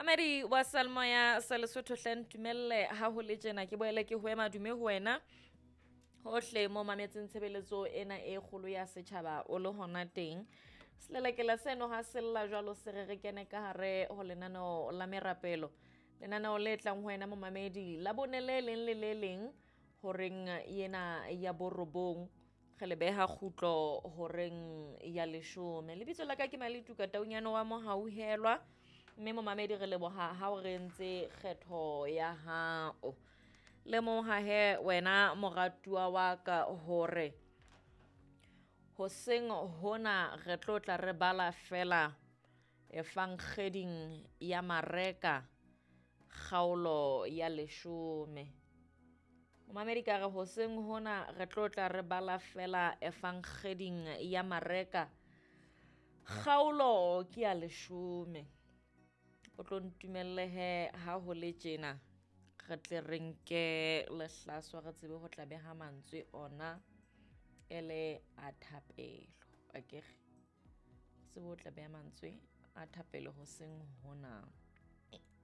Mamedi wa Salmoya sa Lesotho hle ntumelle ha ho le tjena ke boele ke ho ema dume ho wena hohle mo mametseng tshebeletso ena e kgolo ya setjhaba o le hona teng. Selelekela seno ha sella jwalo se re re kene ka hare ho lenaneo la merapelo. Lenaneo le tlang ho wena momamedi la bone le leng le le leng horeng ena ya borobong re le beha kgutlo horeng ya leshome. Lebitso la ka ke Maletuka Taunyane wa Mohauhelwa, mme momamedi re leboha ha o re entse kgetho ya hao. Lemoha he wena moratuwa wa ka hore hoseng hona re tlo tla re bala fela efankgeding ya Mareka kgaolo ya leshome. Momamedi ka re hoseng hona re tlo tla re bala fela efankgeding ya Mareka kgaolo ke ya leshome. O tlo ntumelle he ha ho le tjena re tle re nke lehlaswa re tsebe ho tla beha mantswe ona e le a thapelo. Akere tsebe ho tla beha mantswe a thapelo hoseng hona.